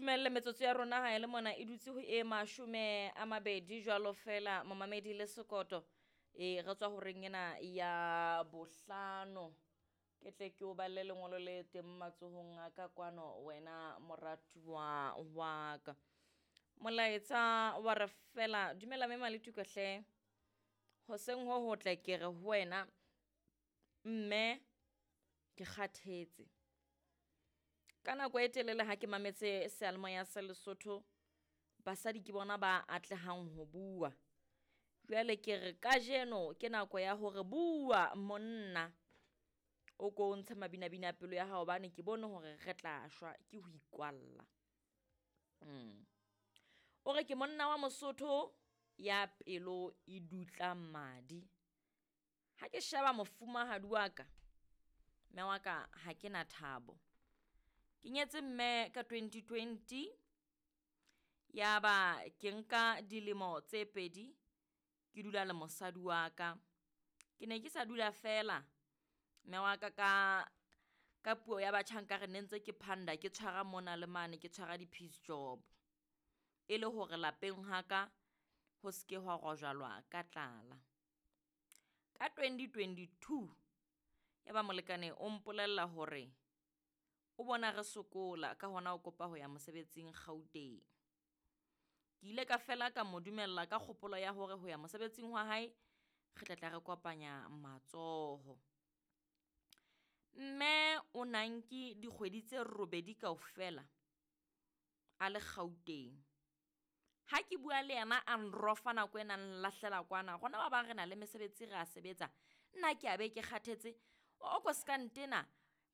Ntumelle metsotso ya rona ha e le mona e dutse ho e 20 jwalo fela momamedi le sekoto. E re tswa horeng ena ya bohlano. Ke tle ke o balle lengolo le teng matsohong a ka kwano wena moratuwa wa ka. Molaetsa wa re fela dumela mme Maletuka hle. Hoseng ho hotle ke re ho wena mme ke kgathetse. Ka nako e telele ha ke mametse seyalemoya sa Lesotho, basadi ke bona ba atlehang ho bua. Jwale ke re kajeno ke nako ya hore bua monna, o ko ntshe mabinabine a pelo ya hao hobane ke bone hore re tla shwa ke ho ikwalla. O re ke monna wa Mosotho ya pelo e dutla madi. Ha ke sheba mofumahadi wa ka, mme wa ka ha ke na thabo. Ke nyetse mme ka 2020, ya ba ke nka dilemo tse pedi ke dula le mosadi wa ka. Ke ne ke sa dula feela mme wa ka ka puo ya batjha nkare ne ntse ke phanda, ke tshwara mona le mane, ke tshwara di-piece job. E le hore lapeng ha ka ho se ke hwa rojalwa ka tlala. Ka 2022, ya ba molekane o mpolella hore o bona re sokola ka hona o kopa ho ya mosebetsing Gauteng. Ke ile ka fela ka mo dumella ka kgopolo ya hore ho ya mosebetsing wa hae re tla tla re kopanya matsoho. Mme o na nke dikgwedi tse robedi kaofela a le Gauteng. Ha ke bua le yena a nrofa nako ena, a nlahlela kwana. Rona ba bang re na le mesebetsi re a sebetsa, nna ke a be ke kgathetse. O ko ska ntena,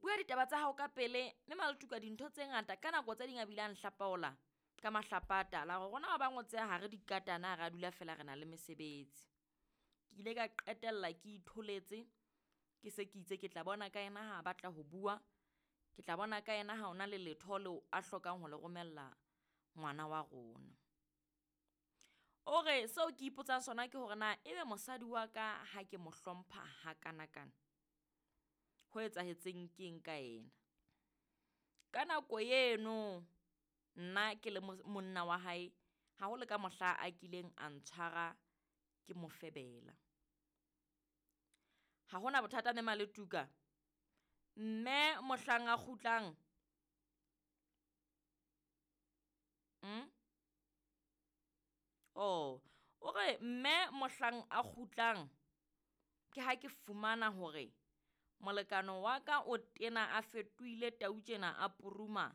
bua ditaba tsa hao ka pele. Mme Maletuka dintho tse ngata ka nako tse ding a bile a nhlapaola ka mahlapa a tala hore rona ba bang o tseba ha re dikatana, ha re a dula feela re na le mesebetsi. Ke ile ka qetella ke itholetse, ke se ke itse ke tla bona ka yena ha a batla ho bua, ke tla bona ka yena ha ona le letho leo a hlokang ho le romella ngwana wa rona. O re seo ke ipotsang sona ke hore na ebe mosadi wa ka ha ke mo hlompha hakanakana, ho etsahetseng keng ka yena? Ka nako eno nna ke le monna wa hae, ha ho le ka mohla a kileng a ntshwara ke mo febela. Ha hona bothata mme Maletuka, mme mohlang a kgutlang, Oh, o re mme mohlang a kgutlang ke ha ke fumana hore molekane wa ka o tena a fetohile tau tjena a puruma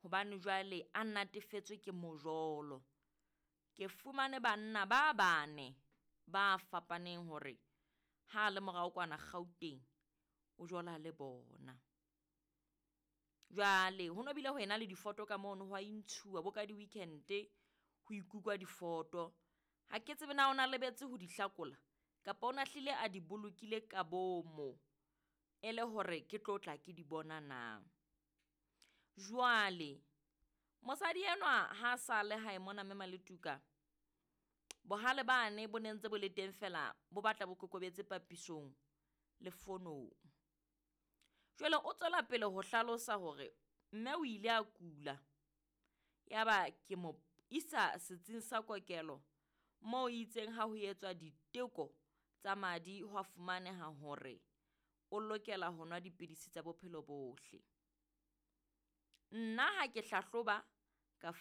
hobane jwale a natefetswe ke mojolo. Ke fumane banna ba bane ba fapaneng hore ha le morao kwana Gauteng o jola le bona. Jwale ho no bile ho ena le difoto ka mono, ho a intshuwa bo ka di-weekend-e ho ikutlwa difoto. Ha ke tsebe na o na lebetse ho di hlakola kapa o na hlile a di bolokile ka bomo e le hore ke tlo tla ke di bona na. Jwale mosadi enwa ha sa le hae mona mme Maletuka, bohale bane bo ne ntse bo le teng feela bo batla bo kokobetse papisong le fonong. Jwale o tswela pele ho hlalosa hore mme o ile a kula, ya ba ke mo isa setsing sa kokelo moo itseng ha ho etswa diteko tsa madi hwa fumaneha hore o lokela ho nwa dipidisi tsa bophelo bohle. Nna ha ke hlahloba ka fumana